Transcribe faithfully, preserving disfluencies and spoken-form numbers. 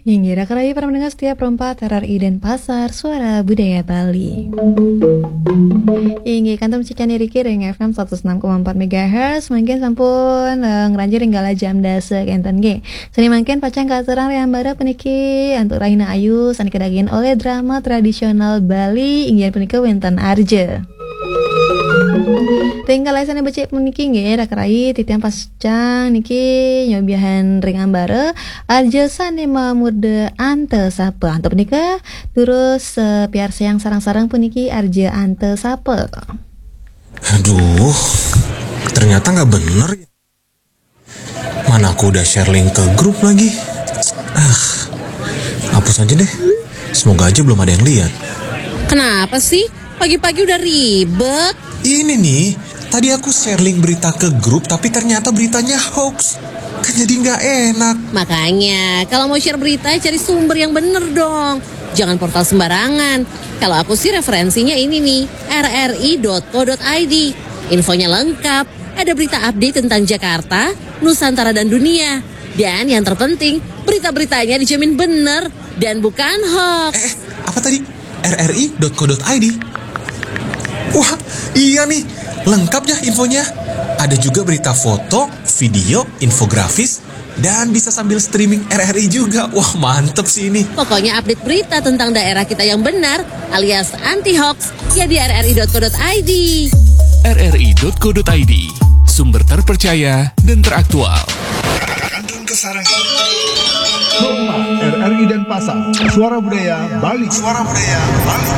Inggih, raka rayi para pendengar setia Pro empat R R I Denpasar, Suara Budaya Bali. Inggih, kantun cicing niki ring F M seratus enam koma empat megahertz, mangkin sampun eh, ngranjing ring galah jam dasa kenten nggih. Sane mangkin pacang katurang ring ambara puniki antuk rahina ayu sane kadagingin oleh drama tradisional Bali inggih punika wenten Arja. Ring galah sane becik puniki nggih, raka rayi titiang pacang niki nyobiahang ring ambara Arja sane mamurda Anta Sapa. Antuk punika durus eh, piarsayang sareng-sareng puniki Arja Anta Sapa. Aduh, ternyata nggak bener ya. Mana aku udah share link ke grup lagi. Ah, hapus aja deh. Semoga aja belum ada yang lihat. Kenapa sih? Pagi-pagi udah ribet. Ini nih, tadi aku share link berita ke grup tapi ternyata beritanya hoax. Kan jadi nggak enak. Makanya, kalau mau share berita, cari sumber yang bener dong. Jangan portal sembarangan. Kalau aku sih referensinya ini nih, R R I dot co dot I D. Infonya lengkap. Ada berita update tentang Jakarta, Nusantara dan dunia. Dan yang terpenting, berita-beritanya dijamin bener dan bukan hoax. Eh, apa tadi? R R I dot co dot I D. Wah, iya nih, lengkap ya infonya. Ada juga berita foto, video, infografis, dan bisa sambil streaming R R I juga. Wah, mantep sih ini. Pokoknya update berita tentang daerah kita yang benar alias anti hoax ya di R R I dot co dot I D. R R I dot co dot I D, sumber terpercaya dan teraktual. Kantun kasarengin. Pro empat R R I Denpasar, Suara Budaya Bali. Suara Budaya Bali.